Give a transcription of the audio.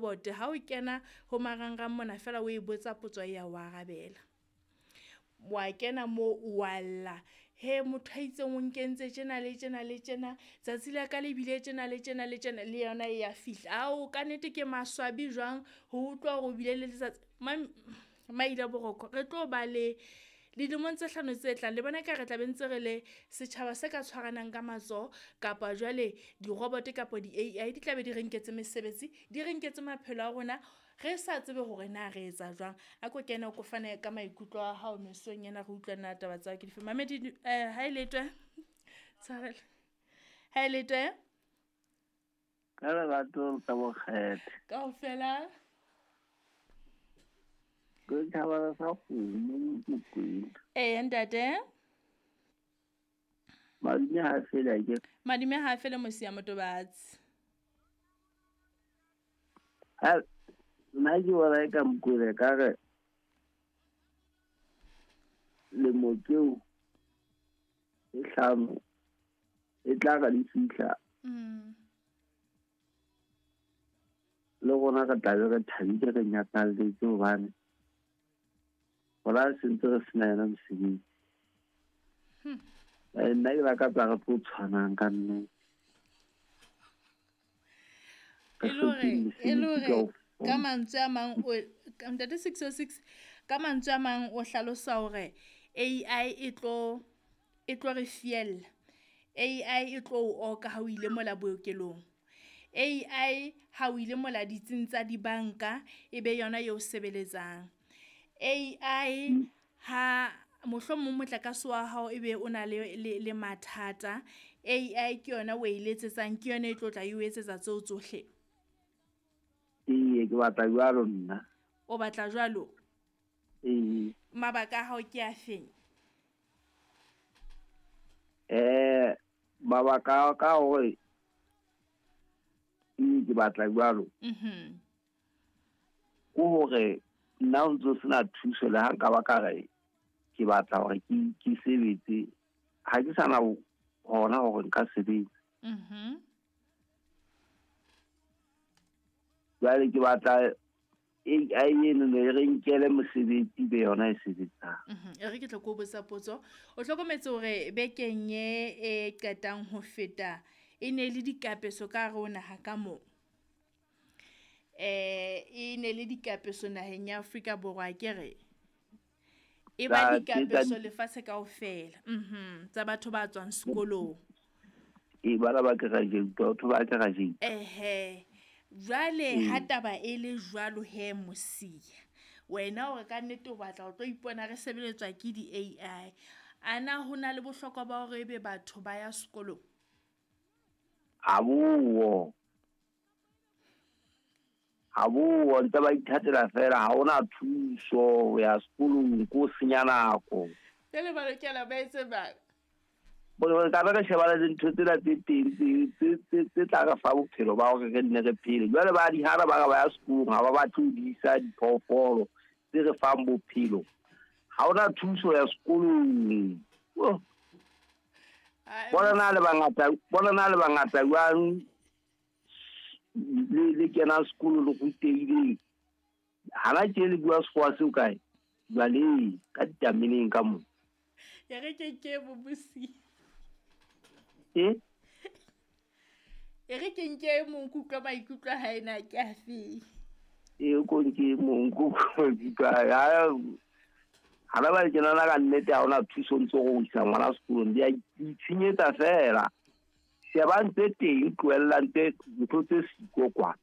robot ha o kena ho marangrang mona fela o e botsa potso ya o arabela. Wa kena mo wa lla, he motho a itseng o nkentse tjena le tjena le tjena, tsatsi la ka le bile tjena le tjena le tjena, le yona e ya fihla. Ao ka nnete ke maswabi jwang ho utlwa hore o bile le letsatsi. Maila Boroko re tlo ba le dilemong tse hlano tse tlang, le bona ka re tla be ntse re le setjhaba se ka tshwaranang ka matsoho, kapa jwale di-robot kapa di-AI di tla be di re nketse mesebetsi, di re nketse maphelo a rona, re sa tsebe hore na re etsa jwang. A ko kene o ko fane ka maikutlo a hao mesong ena, re utlwe na taba tsa hao ke dife. Mamedi ha e letwe tshwarelo, ha e letwe ka lerato tsa bokgethe kaofela. Ke thabela sa kgomo Mokwena. Ee ntate. Madume ha fele a ke. Madume ha fele mosia motobatsi. Ha nna ke bona e ka Mokwena ka re lemo tseo e hlano e tla re di fihla. Le rona re tla be re thabile, re nyakalletse hobane hona se ntse re sena yona mosebetsi. Nna ke lakatsa re tlo tshwanang ka nnete. E le hore ka mantswe a mang o ntate 606, ka mantswe a mang o hlalosa hore AI e tlo re fiella. AI e tlo o oka ha o ile mola bookelong. AI ha o ile mola ditsing tsa dibanka e be yona eo sebeletsang. AI ha mohlomong motlakase wa hao ebe o na le mathata, AI ke yona o e letsetsang, ke yona e tlo tla e o etsetsa tseo tsohle. Ee, ke batla jwalo nna. O batla jwalo? Ee. Mabaka a hao ke a feng? Mabaka a ka hore ke batla jwalo. Ke hore nna o ntso sena thuso le ha nka ba ka re ke batla hore ke sebetse, ha ke sana hona hore nka sebetsa. Jwale ke batla AI eno e re nkele mosebetsi be yona e sebetsang. E re ke tlo ko botsa potso. O hlokometse hore bekeng e qetang ho feta e ne le dikapeso ka hare ho naha ka moo. E ne le dikapeso naheng ya Afrika Borwa ke re. E ba dikapeso lefatshe kaofela. Tsa batho ba tswang sekolong. E bana ba graduate, batho ba graduate. Ehe. Jwale ha taba e le jwalo he mosia, wena o re ka nnete o batla o tlo ipona re sebeletswa ke di-AI. Ana ho na le bohlokwa ba hore ebe batho ba ya sekolong? Ha bo ntse ba ithatela fela, ha hona thuso ho ya sekolong, ko senya nako. Jwale ba lokela ba etse bang? Bo ka re shebana le dintho tsena tse teng tse tla re fa bophelo ba hore re nne re phele. Jwale ba di hana ba re ba ya sekolong, ha ba batle ho di isa diphoofolo tse re fang bophelo. Ha hona thuso ya sekolong. Bona na le bangata jwang le kena sekolo le rutehileng. Hana tje le bua sekgowa seo kae? Jwale ka ditameneng ka moo. Ya re ke bobusi. E re ke nke mong kutlwa maikutlo ha ena ke a fe. E ko nke mong kutlwa maikutlo ha ba le kena ka nnete ha hona thuso ntse go isa ngwana sekolong, di a itshenyetsa fela. Shebang tse teng, tlohellang tse ntho tse siko kwa.